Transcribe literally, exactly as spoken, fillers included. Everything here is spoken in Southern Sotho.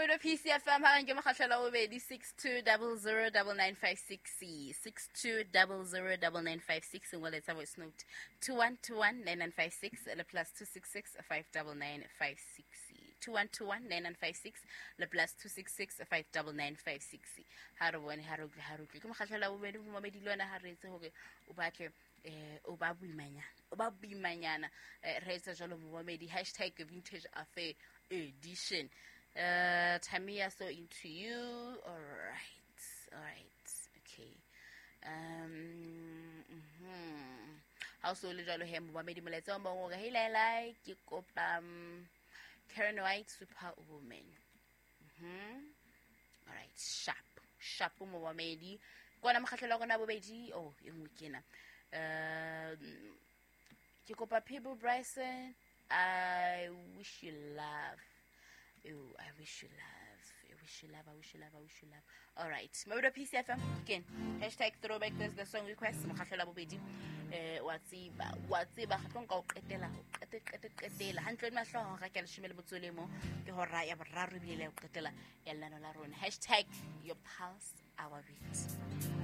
Modo P C F M ha nke mokgahlelo wa bobedi six two double zero double nine five six C six two double zero double nine five six ngoletsa voice note two one two one nine nine five six le plus two six six five double nine five six C two one two one nine nine five six le plus two six six five double nine five six C. Ha re bone, ha re utlwe, ha re utlwe. Ke mokgahlelo wa bobedi, momamedi le wena ha re etse hore o batle, eh, o ba boimanyana, o ba boimanyana. Eh, re etsa jwalo momamedi, hashtag vintage affair edition. Uh, Tamia, so into you. All right, all right, okay. Um, mm-hmm. Ha o so le jwalo he, momamedi, molaetsa o mong o re, hey, Laila, ke kopa, um, Karen White, Superwoman. Mm-hmm. All right, sharp, sharp momamedi. Kwana mokgahlelo wa rona bobedi, oh, e nngwe ke ena. Um, ke kopa Peabo Bryson, I wish you love. Oh, I wish you love. I wish you love. I wish you love. I wish you love. All right. Mabodo P C F M again. Hashtag throwback Thursday song request. Mokgahlelo wa bobedi. Eh, wa tseba, wa tseba, ga tlo nka o qetela, o qete, qete, qetela. Hantle le mahlo hora ke leshome le motso le mo, ke hora ya boraro ebile le ya ho qetela ya lenano la rona. Hashtag your pulse, our beat.